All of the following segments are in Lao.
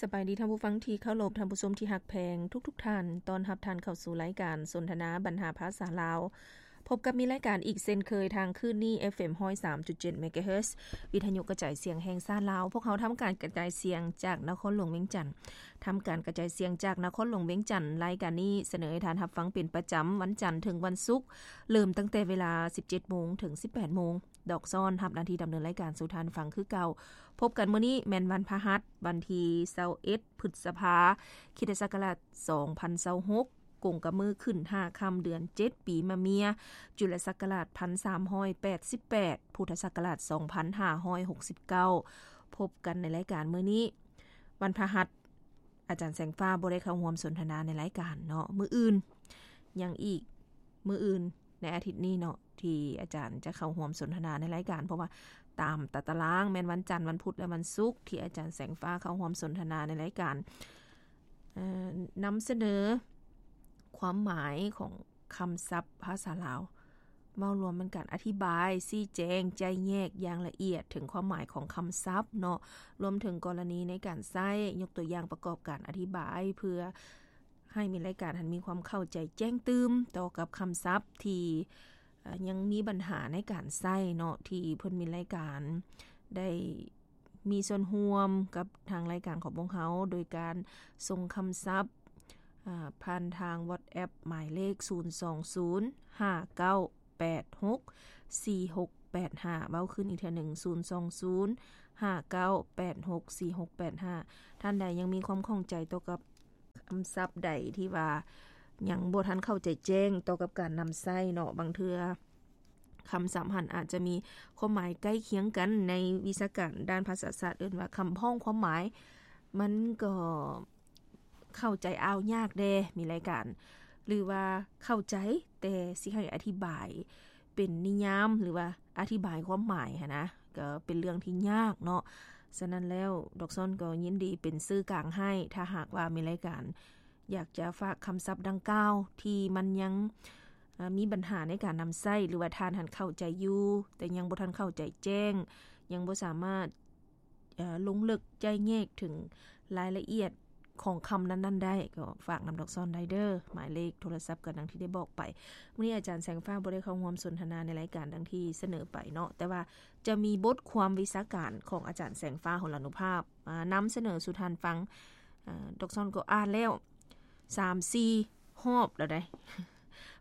ສະບາຍດີທ່ານຜູ້ຟັງທີ່ເຄົາລົບ, ທ່ານຜູ້ຊົມທີ່ຮັກແພງທຸກໆທ່ານ, ຕ້ອນຮັບທ່ານເຂົ້າສູ່ລາຍການສົນທະນາບັນຫາພາສາລາວ. ພົບກັບມີລາຍການອີກເຊັ່ນເຄີຍທາງຄື້ນນີ້ ເອັຟເອັມ ຮ້ອຍສາມຈຸດເຈັດ ເມກາເຮີດ ວິທະຍຸກະຈາຍສຽງແຫ່ງຊາດລາວ. ພວກເຮົາທຳການກະຈາຍສຽງຈາກນະຄອນຫຼວງວຽງຈັນ. ທຳການກະຈາຍສຽງຈາກນະຄອນຫຼວງວຽງຈັນ. ລາຍການນີ້ສະເໜີໃຫ້ທ່ານຮັບຟັງເປັນປະຈຳວັນຈັນເຖິງວັນສຸກ, ເລີ່ມຕັ້ງແຕ່ເວລາ ສິບເຈັດໂມງ ເຖິງ ສິບແປດໂມງ. ດອກຊອນຮັບໜ້າທີ່ດຳເນີນລາຍການສູ່ທ່ານຟັງຄືເກົ່າ. ພົບກັນມື້ນີ້ແມ່ນວັນພະຫັດ, ວັນທີຊາວເອັດ ພຶດສະພາ ຄຣິສຕະສັກກະລາດ ສອງພັນຊາວຫົກ, ກົງກັບມື້ຂຶ້ນຫ້າຄ່ຳເດືອນເຈັດ ປີມະເມຍ, ຈຸລະສັກກະລາດ ພັນສາມຮ້ອຍແປດສິບແປດ, ພຸດທະສັກກະລາດ ສອງພັນຫ້າຮ້ອຍຫົກສິບເກົ້າ. ພົບກັນໃນລາຍການມື້ນີ້ ວັນພະຫັດ, ອາຈານແສງຟ້າບໍ່ໄດ້ເຂົ້າຮ່ວມສົນທະນາໃນລາຍການເນາະ. ມື້ອື່ນຍັງອີກ, ມື້ອື່ນໃນອາທິດນີ້ເນາະ ທີ່ອາຈານຈະເຂົ້າຮ່ວມສົນທະນາໃນລາຍການ, ເພາະວ່າຕາມຕາຕະລາງແມ່ນວັນຈັນ, ວັນພຸດ ແລະ ວັນສຸກ ທີ່ອາຈານແສງຟ້າເຂົ້າຮ່ວມສົນທະນາໃນລາຍການ, ເອີ ນຳສະເໜີຄວາມໝາຍຂອງຄຳສັບພາສາລາວ. ເວົ້າລວມແມ່ນການອະທິບາຍ, ຊີ້ແຈງ, ແຈກແຍກຢ່າງລະອຽດເຖິງຄວາມໝາຍຂອງຄຳສັບເນາະ, ລວມເຖິງກໍລະນີໃນການໃຊ້, ຍົກຕົວຢ່າງປະກອບການອະທິບາຍ ເພື່ອໃຫ້ມີລາຍການຫັ້ນມີຄວາມເຂົ້າໃຈແຈ້ງຕື່ມຕໍ່ກັບຄຳສັບທີ່ ເອີ ຍັງມີບັນຫາໃນການໃຊ້ເນາະ, ທີ່ເພິ່ນມີລາຍການໄດ້ ມີສ່ວນຮ່ວມກັບທາງລາຍການຂອງພວກເຮົາ ໂດຍການສົ່ງຄຳສັບ ອາ ຜ່ານທາງ WhatsApp ໝາຍເລກ ສູນສອງສູນ ຫ້າເກົ້າແປດຫົກ ສີ່ຫົກແປດຫ້າ. ເວົ້າຄືນອີກເທື່ອໜຶ່ງ ສູນສອງສູນ ຫ້າເກົ້າແປດຫົກ ສີ່ຫົກແປດຫ້າ. ທ່ານໃດຍັງມີຄວາມຂ້ອງໃຈຕໍ່ກັບຄຳສັບໃດທີ່ວ່າຍັງບໍ່ທັນເຂົ້າໃຈແຈ້ງຕໍ່ກັບການນຳໃຊ້ເນາະ, ບາງເທື່ອ ຄຳສັບຫັ້ນອາດຈະມີຄວາມໝາຍໃກ້ຄຽງກັນ, ໃນວິຊາການດ້ານພາສາສາດເອີ້ນວ່າຄຳພ້ອງຄວາມໝາຍ, ມັນກໍເຂົ້າໃຈອ່າວຍາກແດ່ ມີລາຍການ ຫຼືວ່າເຂົ້າໃຈ ແຕ່ຊິໃຫ້ອະທິບາຍເປັນນິຍາມ ຫຼືວ່າອະທິບາຍຄວາມໝາຍຫັ້ນນະ ກໍເປັນເລື່ອງທີ່ຍາກເນາະ. ສະນັ້ນແລ້ວ ດອກຊອນກໍຍິນດີເປັນສື່ກາງໃຫ້ ຖ້າຫາກວ່າມີລາຍການ ຢາກຈະຝາກຄຳສັບດັ່ງກ່າວທີ່ມັນຍັງ ເອີ ມີບັນຫາໃນການນຳໃຊ້ ຫຼືວ່າທ່ານຫັ້ນເຂົ້າໃຈຢູ່ ແຕ່ຍັງບໍ່ທັນເຂົ້າໃຈແຈ້ງ, ຍັງບໍ່ສາມາດ ເອີ ລົງເລິກແຈກແຍກເຖິງລາຍລະອຽດຂອງຄຳນັ້ນໆໄດ້, ກໍຝາກນຳດອກຊອນໄດ້ເດີ. ໝາຍເລກໂທລະສັບກໍດັ່ງທີ່ໄດ້ບອກໄປ. ມື້ນີ້ອາຈານແສງຟ້າບໍ່ໄດ້ເຂົ້າຮ່ວມສົນທະນາໃນລາຍການດັ່ງທີ່ສະເໜີໄປເນາະ, ແຕ່ວ່າຈະມີບົດຄວາມວິຊາການຂອງອາຈານແສງຟ້າ ຫົນລານຸພາບ ມານຳສະເໜີສູ່ທ່ານຟັງ. ອາ ດອກຊອນກໍອ່ານແລ້ວສາມສີ່ຮອບແລ້ວໃດ໋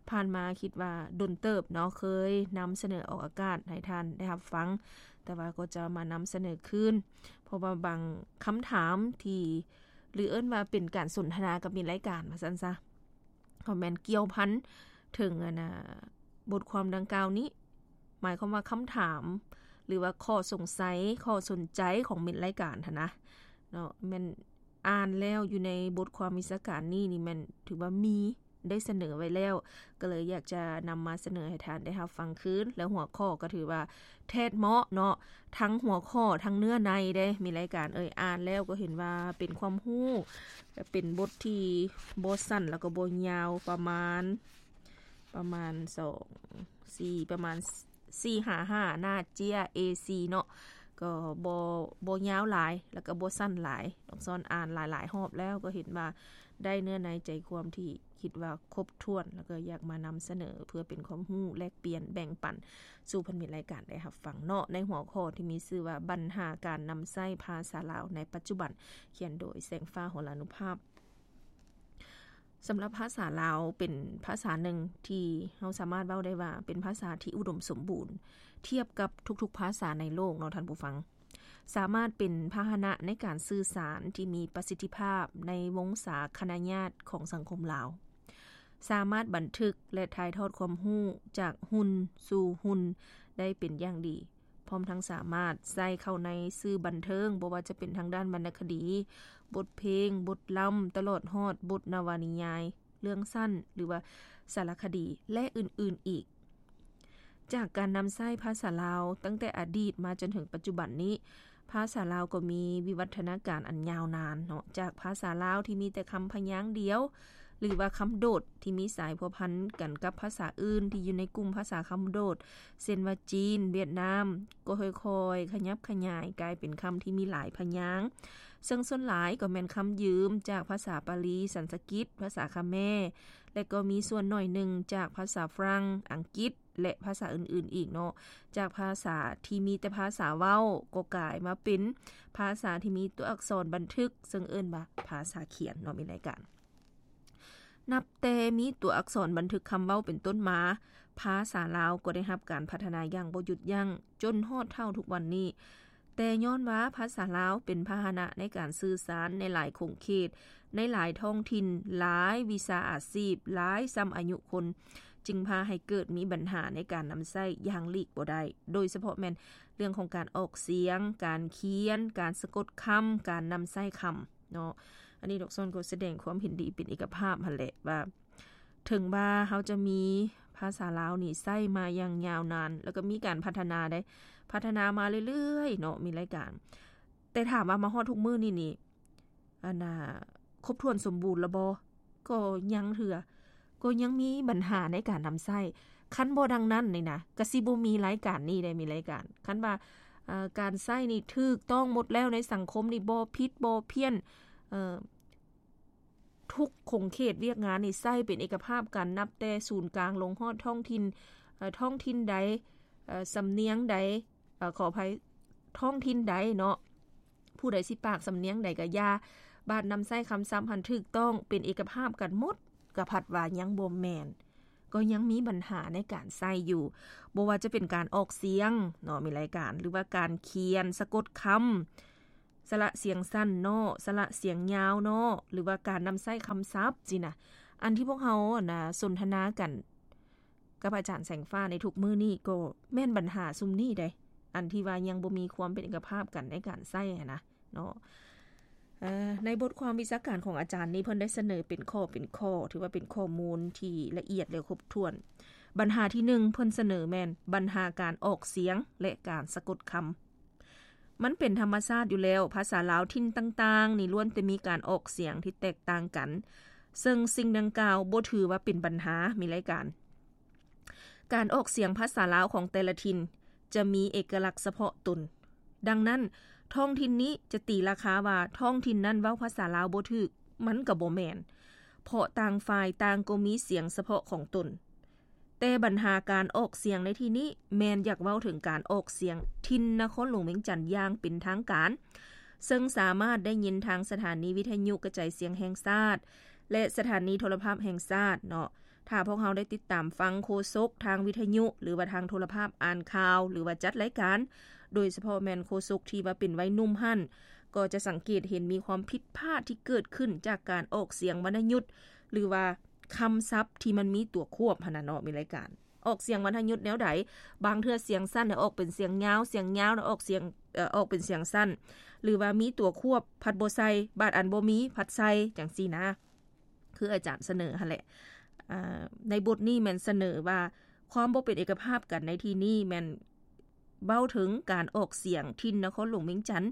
ຜ່ານມາຄິດວ່າດົນເຕີບເນາະ ເຄີຍນຳສະເໜີອອກອາກາດໃຫ້ທ່ານໄດ້ຮັບຟັງ, ແຕ່ວ່າກໍຈະມານຳສະເໜີຄືນ ເພາະວ່າບາງຄຳຖາມທີ່ ຫຼືເອີ້ນວ່າເປັນການສົນທະນາກັບມິດລາຍການວ່າຊັ້ນຊະ ກໍແມ່ນກ່ຽວພັນເຖິງ ອັນນ່າ ບົດຄວາມດັ່ງກ່າວນີ້, ໝາຍຄວາມວ່າຄຳຖາມ ຫຼືວ່າຂໍ້ສົງໄສ ຂໍ້ສົນໃຈຂອງມິດລາຍການຫັ້ນນະເນາະ, ແມ່ນອ່ານແລ້ວຢູ່ໃນບົດຄວາມວິຊາການນີ້ນີ້ ແມ່ນຖືວ່າມີໄດ້ສະເໜີໄວ້ແລ້ວ, ກໍເລີຍຢາກຈະນຳມາສະເໜີໃຫ້ທ່ານໄດ້ຮັບຟັງຄືນ. ແລ້ວຫົວຂໍ້ກໍຖືວ່າແທດເໝາະເນາະ, ທັງຫົວຂໍ້ ທັງເນື້ອໃນເດ້ ມິດລາຍການເອີຍ. ອ່ານແລ້ວກໍເຫັນວ່າເປັນຄວາມຮູ້ ເປັນບົດທີ່ບໍ່ສັ້ນ ແລ້ວກໍບໍ່ຍາວ, ປະມານ ປະມານສອງ ສີ່ ປະມານ ສີ່ ຫາ ຫ້າ ໜ້າເຈ້ຍ ເອສີ່ ເນາະ, ກໍບໍ່ ບໍ່ຍາວຫຼາຍ ແລ້ວກໍບໍ່ສັ້ນຫຼາຍ. ດອກຊອນອ່ານຫຼາຍໆຮອບແລ້ວ ກໍເຫັນວ່າໄດ້ເນື້ອໃນໃຈຄວາມທີ່ຄິດວ່າຄົບຖ້ວນ ແລ້ວກໍຢາກມານຳສະເໜີເພື່ອເປັນຄວາມຮູ້ແລກປ່ຽນແບ່ງປັນສູ່ເພື່ອນມິດລາຍການໄດ້ຮັບຟັງເນາະ, ໃນຫົວຂໍ້ທີ່ມີຊື່ວ່າ ບັນຫາການນຳໃຊ້ພາສາລາວໃນປັດຈຸບັນ, ຂຽນໂດຍ ແສງຟ້າ ຫົນລານຸພາບ. ສຳລັບພາສາລາວເປັນພາສາໜຶ່ງທີ່ເຮົາສາມາດເວົ້າໄດ້ວ່າເປັນພາສາທີ່ອຸດົມສົມບູນທຽບກັບທຸກໆພາສາໃນໂລກເນາະທ່ານຜູ້ຟັງ, ສາມາດເປັນພາຫະນະໃນການສື່ສານທີ່ມີປະສິດທິພາບໃນວົງສາຄະນະຍາດຂອງສັງຄົມລາວ, ສາມາດບັນທຶກ ແລະ ຖ່າຍທອດຄວາມຮູ້ຈາກຮຸ່ນສູ່ຮຸ່ນໄດ້ເປັນຢ່າງດີ. ພ້ອມທັງສາມາດໃຊ້ເຂົ້າໃນສື່ບັນເທີງ, ບໍ່ວ່າຈະເປັນທາງດ້ານວັນນະຄະດີ, ບົດເພງ, ບົດລຳ, ຕະຫຼອດຮອດບົດນະວະນິຍາຍ, ເລື່ອງສັ້ນ ຫຼືວ່າສາລະຄະດີ ແລະ ອື່ນໆອີກ. ຈາກການນຳໃຊ້ພາສາລາວຕັ້ງແຕ່ອະດີດມາຈົນເຖິງປັດຈຸບັນນີ້, ພາສາລາວກໍມີວິວັດທະນາການອັນຍາວນານເນາະ, ຈາກພາສາລາວທີ່ມີແຕ່ຄຳພະຍາງດຽວ, ຫຼືວ່າຄຳໂດດທີ່ມີສາຍພົວພັນກັນກັບພາສາອື່ນທີ່ຢູ່ໃນກຸ່ມພາສາຄຳໂດດ ເຊັ່ນວ່າຈີນ, ຫວຽດນາມ ກໍຄ່ອຍໆຂະຫຍັບຂະຫຍາຍກາຍເປັນຄຳທີ່ມີຫຼາຍພະຍາງ, ເຊິ່ງສ່ວນຫຼາຍກໍແມ່ນຄຳຢືມຈາກພາສາປາລີ, ສັນສະກິດ, ພາສາຂະແມ ແລະ ກໍມີສ່ວນໜ້ອຍໜຶ່ງຈາກພາສາຝຣັ່ງ, ອັງກິດ ແລະ ພາສາອື່ນໆອີກເນາະ. ຈາກພາສາທີ່ມີແຕ່ພາສາເວົ້າ ກໍກາຍມາເປັນພາສາທີ່ມີຕົວອັກສອນບັນທຶກ ເຊິ່ງເອີ້ນວ່າພາສາຂຽນເນາະ ມີລາຍການ. ນັບແຕ່ມີຕົວອັກສອນບັນທຶກຄຳເວົ້າເປັນຕົ້ນມາ, ພາສາລາວກໍໄດ້ຮັບການພັດທະນາຢ່າງບໍ່ຢຸດຢັ້ງ ຈົນຮອດເທົ່າທຸກວັນນີ້. ແຕ່ຍ້ອນວ່າພາສາລາວເປັນພາຫະນະໃນການສື່ສານໃນຫຼາຍຂົງເຂດ, ໃນຫຼາຍທ້ອງຖິ່ນ, ຫຼາຍວິຊາອາຊີບ, ຫຼາຍຊ່ຳອາຍຸຄົນ, ຈຶ່ງພາໃຫ້ເກີດມີບັນຫາໃນການນຳໃຊ້ຢ່າງຫຼີກບໍ່ໄດ້, ໂດຍສະເພາະແມ່ນເລື່ອງຂອງການອອກສຽງ, ການຂຽນ, ການສະກົດຄຳ, ການນຳໃຊ້ຄຳເນາະ. ອັນນີ້ດອກຊອນກໍສະແດງຄວາມເຫັນດີເປັນເອກະພາບຫັ້ນແຫຼະວ່າ ເຖິງວ່າເຮົາຈະມີພາສາລາວນີ້ໃຊ້ມາຢ່າງຍາວນານ ແລ້ວກໍມີການພັດທະນາໄດ້ ພັດທະນາມາເລື້ອຍໆເນາະ ມີລາຍການ. ແຕ່ຖາມວ່າມາຮອດທຸກມື້ນີ້ນີ້ ອັນນ່າ ຄົບຖ້ວນສົມບູນແລ້ວບໍ່? ກໍຍັງເທື່ອ ກໍຍັງມີບັນຫາໃນການນຳໃຊ້. ຄັນບໍ່ດັ່ງນັ້ນນີ້ນະ ກະຊິບໍ່ມີລາຍການນີ້ໄດ້ ມີລາຍການ. ຄັນວ່າ ເອີ ການໃຊ້ນີ້ຖືກຕ້ອງໝົດແລ້ວ ໃນສັງຄົມນີ້ບໍ່ຜິດບໍ່ພຽນ ເອີ ທຸກຂົງເຂດວຽກງານນີ້ໃຊ້ເປັນເອກະພາບກັນ ນັບແຕ່ສູນກາງລົງຮອດທ້ອງຖິ່ນ ເອີ ທ້ອງຖິ່ນໃດ ເອີ ສຳນຽງໃດ ເອີ ຂໍອະໄພ ທ້ອງຖິ່ນໃດເນາະ ຜູ້ໃດຊິປາກສຳນຽງໃດກໍຢ່າ ບາດນຳໃຊ້ຄຳສັບຫັ້ນຖືກຕ້ອງເປັນເອກະພາບກັນໝົດ ກໍພັດວ່າຍັງບໍ່ແມ່ນ ກໍຍັງມີບັນຫາໃນການໃຊ້ຢູ່ ບໍ່ວ່າຈະເປັນການອອກສຽງເນາະ ມີລາຍການ ຫຼືວ່າການຂຽນສະກົດຄຳ ສະຫຼະສຽງສັ້ນເນາະ ສະຫຼະສຽງຍາວເນາະ ຫຼືວ່າການນຳໃຊ້ຄຳສັບຊີ້ນະ. ອັນທີ່ພວກເຮົາ ອັນນ່າ ສົນທະນາກັນກັບອາຈານແສງຟ້າໃນທຸກມື້ນີ້ ກໍແມ່ນບັນຫາຊຸມນີ້ເດ້ ອັນທີ່ວ່າຍັງບໍ່ມີຄວາມເປັນເອກະພາບກັນໃນການໃຊ້ຫັ້ນນະເນາະ. ເອີ ໃນບົດຄວາມວິຊາການຂອງອາຈານນີ້ ເພິ່ນໄດ້ສະເໜີເປັນຂໍ້ເປັນຂໍ້ ຖືວ່າເປັນຂໍ້ມູນທີ່ລະອຽດ ແລະ ຄົບຖ້ວນ. ບັນຫາທີໜຶ່ງ ເພິ່ນສະເໜີແມ່ນບັນຫາການອອກສຽງ ແລະ ການສະກົດຄຳ. ມັນເປັນທຳມະຊາດຢູ່ແລ້ວ, ພາສາລາວຖິ່ນຕ່າງໆນີ້ລ້ວນແຕ່ມີການອອກສຽງທີ່ແຕກຕ່າງກັນ, ເຊິ່ງສິ່ງດັ່ງກ່າວບໍ່ຖືວ່າເປັນບັນຫາ, ມີລາຍການ. ການອອກສຽງພາສາລາວຂອງແຕ່ລະຖິ່ນຈະມີເອກະລັກສະເພາະຕົນ. ດັ່ງນັ້ນ, ທ້ອງຖິ່ນນີ້ຈະຕີລາຄາວ່າທ້ອງຖິ່ນນັ້ນເວົ້າພາສາລາວບໍ່ຖືກ, ມັນກໍບໍ່ແມ່ນ, ເພາະຕ່າງຝ່າຍຕ່າງກໍມີສຽງສະເພາະຂອງຕົນ. ແຕ່ບັນຫາການອອກສຽງໃນທີ່ນີ້ແມ່ນຢາກເວົ້າເຖິງການອອກສຽງຖິ່ນນະຄອນຫຼວງວຽງຈັນຢ່າງເປັນທາງການ, ເຊິ່ງສາມາດໄດ້ຍິນທາງສະຖານີວິທະຍຸກະຈາຍສຽງແຫ່ງຊາດ ແລະ ສະຖານີໂທລະພາບແຫ່ງຊາດເນາະ. ຖ້າພວກເຮົາໄດ້ຕິດຕາມຟັງໂຄສົກທາງວິທະຍຸ ຫຼືວ່າທາງໂທລະພາບ, ອ່ານຂ່າວ ຫຼືວ່າຈັດລາຍການ, ໂດຍສະເພາະແມ່ນໂຄສົກທີ່ວ່າເປັນໄວໜຸ່ມຫັ້ນ, ກໍຈະສັງເກດເຫັນມີຄວາມຜິດພາດທີ່ເກີດຂຶ້ນຈາກການອອກສຽງວັນນະຍຸດ ຫຼືວ່າຄຳສັບທີ່ມັນມີຕົວຄວບຫັ້ນນະເນາະ, ມີລາຍການ. ອອກສຽງວັນນະຍຸດແນວໃດ? ບາງເທື່ອສຽງສັ້ນນະອອກເປັນສຽງຍາວ, ສຽງຍາວນະອອກສຽງ, ເອີ, ອອກເປັນສຽງສັ້ນ, ຫຼືວ່າມີຕົວຄວບພັດບໍ່ໃສ່, ບາດອັນບໍ່ມີພັດໃສ່, ຈັ່ງຊີ້ນະ. ຄືອາຈານສະເໜີຫັ້ນແຫຼະ. ອາ, ໃນບົດນີ້ແມ່ນສະເໜີວ່າຄວາມບໍ່ເປັນເອກະພາບກັນໃນທີ່ນີ້ແມ່ນເວົ້າເຖິງການອອກສຽງຖິ່ນນະຄອນຫຼວງວຽງຈັນ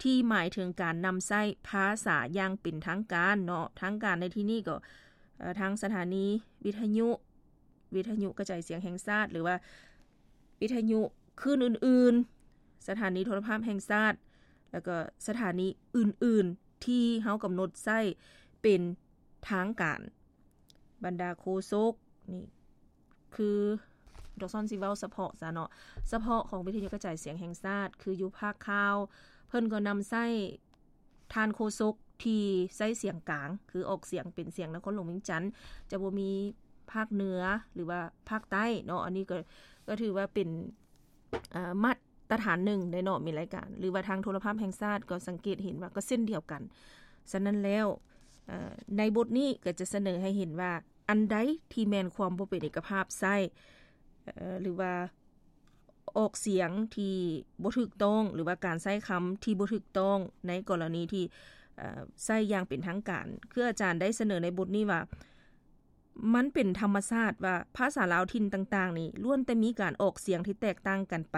ທີ່ໝາຍເຖິງການນຳໃຊ້ພາສາຢ່າງເປັນທາງການເນາະ. ທາງການໃນທີ່ນີ້ກໍ ເອີ ທາງສະຖານີວິທະຍຸ ວິທະຍຸກະຈາຍສຽງແຫ່ງຊາດ ຫຼືວ່າວິທະຍຸຄື້ນອື່ນໆ, ສະຖານີໂທລະພາບແຫ່ງຊາດ ແລ້ວກໍສະຖານີອື່ນໆ ທີ່ເຮົາກຳນົດໃຊ້ເປັນທາງການ. ບັນດາໂຄສົກນີ້ ຄື ດອກຊອນຊິເວົ້າສະເພາະຊະເນາະ, ສະເພາະຂອງວິທະຍຸກະຈາຍສຽງແຫ່ງຊາດ ຄືຢູ່ພາກຂ່າວ ເພິ່ນກໍນຳໃຊ້ ທ່ານໂຄສົກທີ່ໃຊ້ສຽງກາງ ຄືອອກສຽງເປັນສຽງນະຄອນຫຼວງວຽງຈັນ, ຈະບໍ່ມີພາກເໜືອ ຫຼືວ່າພາກໃຕ້ເນາະ. ອັນນີ້ກໍ ກໍຖືວ່າເປັນ ເອີ ມາດຕະຖານໜຶ່ງໄດ້ເນາະ, ມີລາຍການ ຫຼືວ່າທາງໂທລະພາບແຫ່ງຊາດກໍສັງເກດເຫັນວ່າກໍເຊັ່ນດຽວກັນ. ສະນັ້ນແລ້ວ ເອີ ໃນບົດນີ້ກໍຈະສະເໜີໃຫ້ເຫັນວ່າ ອັນໃດທີ່ແມ່ນຄວາມບໍ່ເປັນເອກະພາບໃຊ້ ເອີ ຫຼືວ່າ ອອກສຽງທີ່ບໍ່ຖືກຕ້ອງ ຫຼືວ່າການໃຊ້ຄຳທີ່ບໍ່ຖືກຕ້ອງໃນກໍລະນີທີ່ ເອີ ໃຊ້ຢ່າງເປັນທາງການ. ຄືອາຈານໄດ້ສະເໜີໃນບົດນີ້ວ່າ ມັນເປັນທຳມະຊາດວ່າພາສາລາວຖິ່ນຕ່າງໆນີ້ ລ້ວນແຕ່ມີການອອກສຽງທີ່ແຕກຕ່າງກັນໄປ.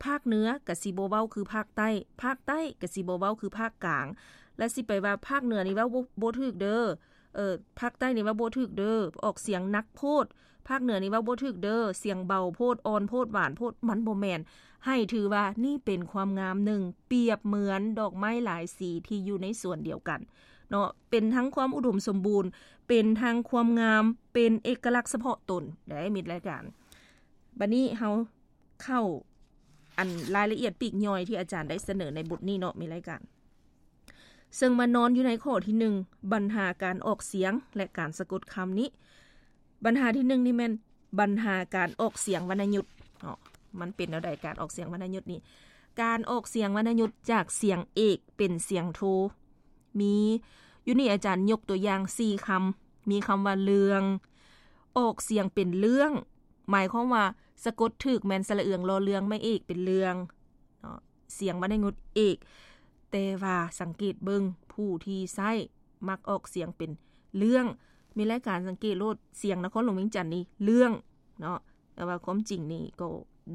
ພາກເໜືອກະຊິບໍ່ເວົ້າຄືພາກໃຕ້, ພາກໃຕ້ກະຊິບໍ່ເວົ້າຄືພາກກາງ, ແລະ ຊິໄປວ່າພາກເໜືອນີ້ເວົ້າບໍ່ ບໍ່ຖືກເດີ, ເອີ ພາກໃຕ້ນີ້ເວົ້າບໍ່ຖືກເດີ ອອກສຽງໜັກໂພດ, ພາກເໜືອນີ້ເວົ້າບໍ່ຖືກເດີ ສຽງເບົາໂພດ ອ່ອນໂພດ ຫວານໂພດ ມັນບໍ່ແມ່ນ. ໃຫ້ຖືວ່ານີ້ເປັນຄວາມງາມໜຶ່ງ ປຽບເໝືອນດອກໄມ້ຫຼາຍສີທີ່ຢູ່ໃນສວນດຽວກັນເນາະ, ເປັນທັງຄວາມອຸດົມສົມບູນ ເປັນທັງຄວາມງາມ ເປັນເອກະລັກສະເພາະຕົນ ໄດ້ມິດລາຍການ. ບັດນີ້ເຮົາເຂົ້າອັນລາຍລະອຽດປີກຍ່ອຍທີ່ອາຈານໄດ້ສະເໜີໃນບົດນີ້ເນາະ ມິດລາຍການ. ເຊິ່ງມານອນຢູ່ໃນຂໍ້ທີໜຶ່ງ ບັນຫາການອອກສຽງ ແລະ ການສະກົດຄຳນີ້. ບັນຫາທີໜຶ່ງນີ້ແມ່ນບັນຫາການອອກສຽງວັນນະຍຸດເນາະ. ມັນເປັນແນວໃດການອອກສຽງວັນນະຍຸດນີ້? ການອອກສຽງວັນນະຍຸດຈາກສຽງເອກເປັນສຽງໂທ ມີ ຢູ່ນີ້ອາຈານຍົກຕົວຢ່າງສີ່ຄຳ. ມີຄຳວ່າເລື່ອງ ອອກສຽງເປັນເລື່ອງ ໝາຍຄວາມວ່າສະກົດຖືກແມ່ນສະຫຼະເອືອງ ລໍເລື່ອງ ໄມ້ເອກເປັນເລື່ອງເນາະ ສຽງວັນນະຍຸດເອກ. ແຕ່ວ່າສັງເກດເບິ່ງ ຜູ້ທີ່ໃຊ້ມັກອອກສຽງເປັນເລື່ອງ. ມີລາຍການສັງເກດໂລດ ສຽງນະຄອນຫຼວງວຽງຈັນນີ້ເລື່ອງເນາະ. ແຕ່ວ່າຄວາມຈິງນີ້ກໍ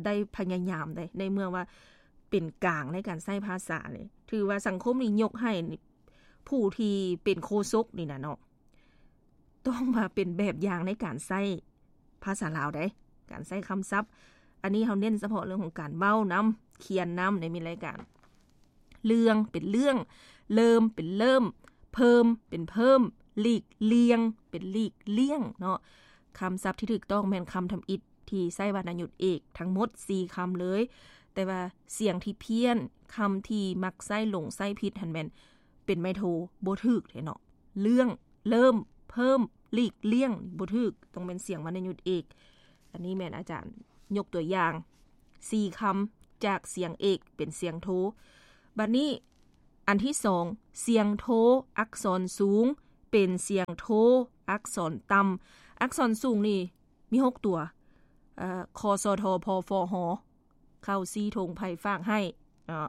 ໄດ້ພະຍາຍາມໄດ໋ ໃນເມື່ອວ່າເປັນກາງໃນການໃຊ້ພາສານີ້ ຖືວ່າສັງຄົມນີ້ຍົກໃຫ້ຜູ້ທີ່ເປັນໂຄສົກນີ້ນະເນາະ ຕ້ອງມາເປັນແບບຢ່າງໃນການໃຊ້ພາສາລາວໄດ໋ ການໃຊ້ຄຳສັບ. ອັນນີ້ເຮົາເນັ້ນສະເພາະເລື່ອງຂອງການເວົ້ານຳ ຂຽນນຳ ໃນມີລາຍການ. ເລື່ອງເປັນເລື່ອງ, ເລີ່ມເປັນເລີ່ມ, ເພີ່ມເປັນເພີ່ມ, ຫຼີກລ່ຽງເປັນຫຼີກລ່ຽງເນາະ. ຄຳສັບທີ່ຖືກຕ້ອງແມ່ນຄຳທຳອິດທີ່ໃຊ້ວັນນະຍຸດເອກ ທັງໝົດສີ່ຄຳເລີຍ. ແຕ່ວ່າສຽງທີ່ພຽນ, ຄຳທີ່ມັກໃຊ້ຫຼົງໃຊ້ຜິດຫັ້ນແມ່ນເປັນໄມ້ໂທ ບໍ່ຖືກເດ້ເນາະ. ເລື່ອງ, ເລີ່ມ, ເພີ່ມ, ຫຼີກລ່ຽງ ບໍ່ຖືກ, ຕ້ອງແມ່ນສຽງວັນນະຍຸດເອກ. ອັນນີ້ແມ່ນອາຈານຍົກຕົວຢ່າງ ສີ່ຄຳ ຈາກສຽງເອກເປັນສຽງໂທ. ບັດນີ້ອັນທີສອງ ສຽງໂທອັກສອນສູງເປັນສຽງໂທອັກສອນຕ່ຳ. ອັກສອນສູງນີ້ມີຫົກຕົວ ຄ ສ ທ ພ ຟ ຫ ເຂົ້າຊີ້ທົ່ງໄພຝາກໃຫ້ເນາະ.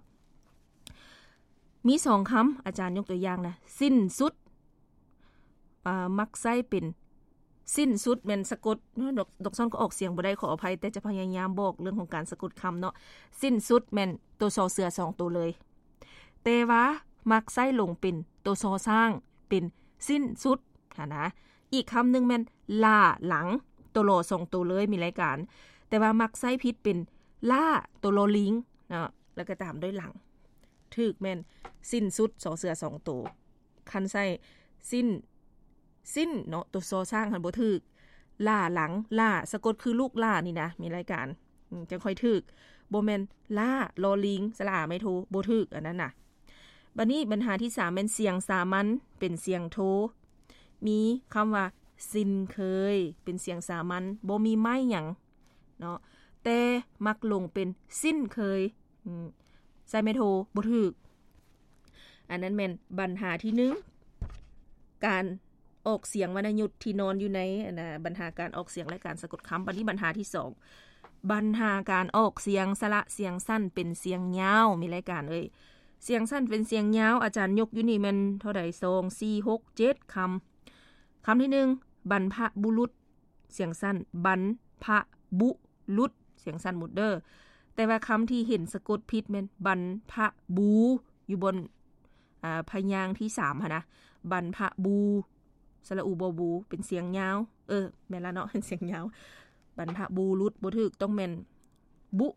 ມີສອງຄຳ ອາຈານຍົກຕົວຢ່າງນະ ສິ້ນສຸດ ອາ ມັກໃຊ້ເປັນ ສິ້ນສຸດແມ່ນສະກົດ ດອກ ດອກຊອນກໍອອກສຽງບໍ່ໄດ້ ຂໍອະໄພ ແຕ່ຈະພະຍາຍາມບອກເລື່ອງຂອງການສະກົດຄຳເນາະ. ສິ້ນສຸດແມ່ນໂຕ ຊ ເສືອ ສອງໂຕເລີຍ ແຕ່ວ່າມັກໃຊ້ລົງເປັນໂຕ ຊ ຊ້າງ ເປັນສິ້ນສຸດຫັ້ນນະ. ອີກຄຳໜຶ່ງແມ່ນຫຼ້າຫຼັງ ໂຕ ລ ສອງໂຕເລີຍ ມີລາຍການ ແຕ່ວ່າມັກໃຊ້ຜິດເປັນຫຼ້າ ໂຕ ລ ລິງເນາະ ແລ້ວກໍຕາມດ້ວຍຫຼັງ. ຖືກແມ່ນສິ້ນສຸດ ຊ ເສືອ ສອງໂຕ. ຄັນໃຊ້ສິ້ນ ສິ້ນເນາະ ໂຕ ຊ ຊ້າງຫັ້ນບໍ່ຖືກ. ຫຼ້າຫຼັງ ຫຼ້າ ສະກົດຄືລູກຫຼ້ານີ້ນະ ມີລາຍການ ອືມ ຈັ່ງຄ່ອຍຖືກ. ບໍ່ແມ່ນຫຼ້າ ລ ລິງ ສະຫຼະອາ ໄມ້ໂທ ບໍ່ຖືກ ອັນນັ້ນນະ. ບັດນີ້ບັນຫາທີສາມແມ່ນສຽງສາມັນເປັນສຽງໂທ. ມີຄຳວ່າ ຊິນເຄີຍ ເປັນສຽງສາມັນ ບໍ່ມີໄມ້ຫຍັງເນາະ ແຕ່ມັກລົງເປັນ ຊິ້ນເຄີຍ ອືມ ໃສ່ໄມ້ໂທ ບໍ່ຖືກ. ອັນນັ້ນແມ່ນບັນຫາທີໜຶ່ງ ການອອກສຽງວັນນະຍຸດທີ່ນອນຢູ່ໃນ ອັນນະ ບັນຫາການອອກສຽງ ແລະ ການສະກົດຄຳ. ບັດນີ້ບັນຫາທີສອງ ບັນຫາການອອກສຽງສະຫຼະສຽງສັ້ນເປັນສຽງຍາວ. ມີລາຍການເອີຍ ສຽງສັ້ນເປັນສຽງຍາວ ອາຈານຍົກຢູ່ນີ້ແມ່ນເທົ່າໃດ? ສອງ ສີ່ ຫົກ ເຈັດຄຳ. ຄຳທີໜຶ່ງ ບັນພະບຸລຸດ ສຽງສັ້ນ ບັນພະບຸລຸດ ສຽງສັ້ນໝົດເດີ. ແຕ່ວ່າຄຳທີ່ເຫັນສະກົດຜິດແມ່ນ ບັນພະບູ ຢູ່ບ່ອນ ອາ ພະຍາງທີສາມຫັ້ນນະ ບັນພະບູ ສະຫຼະອູ ບໍ່ບູ ເປັນສຽງຍາວ. ເອີ ແມ່ນລະເນາະ ເປັນສຽງຍາວ. ບັນພະບູລຸດ ບໍ່ຖືກ ຕ້ອງແມ່ນ ບຸ.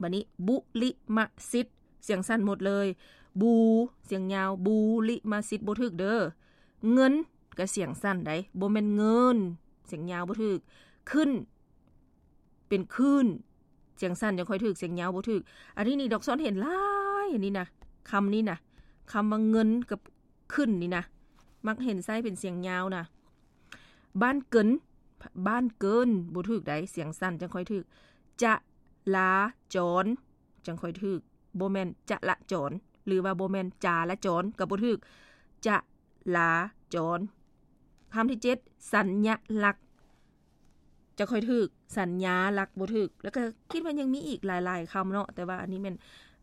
ບັດນີ້ ບຸລິມະສິດ ສຽງສັ້ນໝົດເລີຍ ບູ ສຽງຍາວ ບູລິມະສິດ ບໍ່ຖືກເດີ. ເງິນ ກໍສຽງສັ້ນໃດ໋ ບໍ່ແມ່ນເງິນ ສຽງຍາວ ບໍ່ຖືກ. ຂຶ້ນ ເປັນຄື້ນ ສຽງສັ້ນຈັ່ງຄ່ອຍຖືກ ສຽງຍາວບໍ່ຖືກ. ອັນນີ້ນີ້ ດອກຊອນເຫັນຫຼາຍ ອັນນີ້ນະ ຄຳນີ້ນະ ຄຳວ່າເງິນກັບຂຶ້ນນີ້ນະ ມັກເຫັນໃຊ້ເປັນສຽງຍາວນະ. ບ້ານເກີນ ບ້ານເກີນ ບໍ່ຖືກໃດ໋ ສຽງສັ້ນຈັ່ງຄ່ອຍຖືກ. ຈະລາຈອນ ຈັ່ງຄ່ອຍຖືກ ບໍ່ແມ່ນຈະລະຈອນ ຫຼືວ່າບໍ່ແມ່ນຈາລະຈອນ ກໍບໍ່ຖືກ ຈະລາຈອນ. ຄຳທີເຈັດ ສັນຍະລັກ ຈະຄ່ອຍຖືກ ສັນຍາລັກ ບໍ່ຖືກ. ແລ້ວກໍຄິດວ່າຍັງມີອີກຫຼາຍໆຄຳເນາະ ແຕ່ວ່າອັນນີ້ແມ່ນ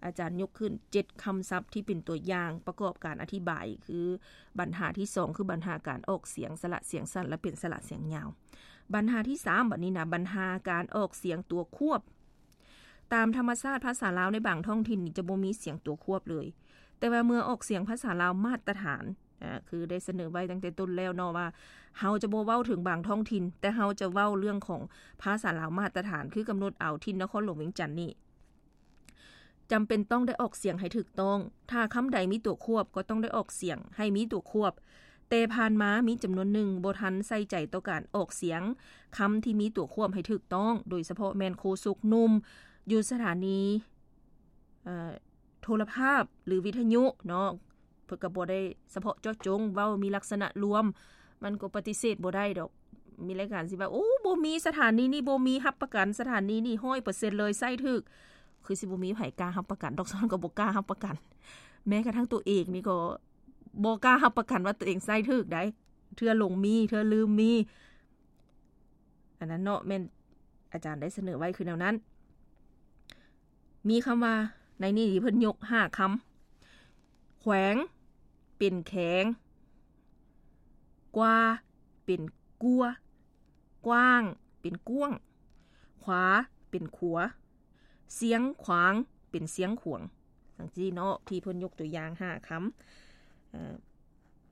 ອາຈານຍົກຂຶ້ນເຈັດຄຳສັບທີ່ເປັນຕົວຢ່າງປະກອບການອະທິບາຍ ຄືບັນຫາທີສອງ ຄືບັນຫາການອອກສຽງສະຫຼະສຽງສັ້ນ ແລະ ເປັນສະຫຼະສຽງຍາວ. ບັນຫາທີສາມ ບັດນີ້ນະ ບັນຫາການອອກສຽງຕົວຄວບ. ຕາມທຳມະຊາດພາສາລາວໃນບາງທ້ອງຖິ່ນນີ້ຈະບໍ່ມີສຽງຕົວຄວບເລີຍ ແຕ່ວ່າເມື່ອອອກສຽງພາສາລາວມາດຕະຖານ ອ່າ ຄືໄດ້ສະເໜີໄວ້ຕັ້ງແຕ່ຕົ້ນແລ້ວເນາະ ວ່າເຮົາຈະບໍ່ເວົ້າເຖິງບາງທ້ອງຖິ່ນ ແຕ່ເຮົາຈະເວົ້າເລື່ອງຂອງພາສາລາວມາດຕະຖານ ຄືກຳນົດເອົາຖິ່ນນະຄອນຫຼວງວຽງຈັນນີ້ ຈຳເປັນຕ້ອງໄດ້ອອກສຽງໃຫ້ຖືກຕ້ອງ. ຖ້າຄຳໃດມີຕົວຄວບ ກໍຕ້ອງໄດ້ອອກສຽງໃຫ້ມີຕົວຄວບ. ແຕ່ຜ່ານມາມີຈຳນວນໜຶ່ງບໍ່ທັນໃສ່ໃຈຕໍ່ການອອກສຽງຄຳທີ່ມີຕົວຄວບໃຫ້ຖືກຕ້ອງ, ໂດຍສະເພາະແມ່ນໂຄສົກໜຸ່ມຢູ່ສະຖານີ ເອີ ໂທລະພາບ ຫຼື ວິທະຍຸເນາະ, ເພິ່ນກໍບໍ່ໄດ້ສະເພາະເຈາະຈົງ ເວົ້າມີລັກສະນະລວມ, ມັນກໍປະຕິເສດບໍ່ໄດ້ດອກ. ມີລາຍການຊິວ່າ ໂອ້ ບໍ່ມີ ສະຖານີນີ້ບໍ່ມີ ຮັບປະກັນສະຖານີນີ້ຮ້ອຍເປີເຊັນເລີຍ ໃຊ້ຖືກ. ຄືຊິບໍ່ມີໃຜກ້າຮັບປະກັນດອກ, ຊ້ອນກໍບໍ່ກ້າຮັບປະກັນ. ແມ້ກະທັ້ງຕົວເອງນີ້ກໍບໍ່ກ້າຮັບປະກັນວ່າຕົວເອງໃຊ້ຖືກໃດ໋, ເທື່ອຫຼົງມີ ເທື່ອລືມມີ. ອັນນັ້ນເນາະ ແມ່ນອາຈານໄດ້ສະເໜີໄວ້ຄືແນວນັ້ນ. ມີຄຳວ່າ ໃນນີ້ທີ່ເພິ່ນຍົກຫ້າຄຳ, ແຂວງ ເປັນແຂງ, ກວ່າ ເປັນກົວ, ກວ້າງ ເປັນກວ້າງ, ຂວາ ເປັນຂົວ, ຊຽງຂວາງ ເປັນຊຽງຂວາງ ຈັ່ງຊີ້ເນາະ ທີ່ເພິ່ນຍົກຕົວຢ່າງຫ້າຄຳ. ເອີ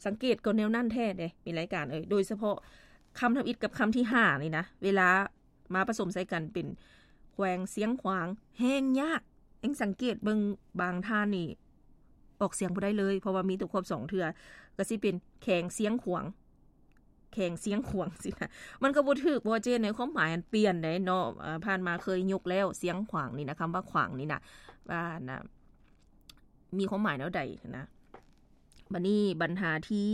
ສັງເກດກໍແນວນັ້ນແທ້ເດ້ ມີລາຍການເອີຍ, ໂດຍສະເພາະຄຳທຳອິດກັບຄຳທີຫ້ານີ້ນະ ເວລາມາປະສົມໃສ່ກັນເປັນແຂວງຊຽງຂວາງ ແຮງຍາກ. ເອັງສັງເກດເບິ່ງບາງທ່ານນີ້ອອກສຽງບໍ່ໄດ້ເລີຍ ເພາະວ່າມີຕົວຄວບສອງເທື່ອ, ກໍຊິເປັນແຂງຊຽງຂວາງ ແຂງຊຽງຂວາງຊີ້ນະ, ມັນກໍບໍ່ຖືກ ເພາະວ່າເຈົ້ນໃນຄວາມໝາຍມັນປ່ຽນໄດ໋ເນາະ. ເອີ ຜ່ານມາເຄີຍຍົກແລ້ວ ຊຽງຂວາງນີ້ນະ, ຄຳວ່າຂວາງນີ້ນະ ວ່ານະ ມີຄວາມໝາຍແນວໃດນະ. ບັດນີ້ບັນຫາທີ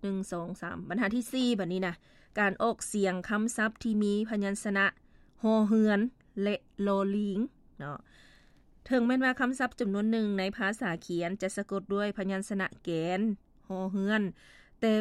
ໜຶ່ງ ສອງ ສາມ ບັນຫາທີສີ່ ບັດນີ້ນະ ການອອກສຽງຄຳສັບທີ່ມີພະຍັນຊະນະ ຮໍເຮືອນ ແລະ ລໍລີງເນາະ. ເຖິງແມ່ນວ່າຄຳສັບຈຳນວນໜຶ່ງໃນພາສາຂຽນຈະສະກົດດ້ວຍພະຍັນຊະນະແກນ ຮໍເຮືອນ, ແຕ່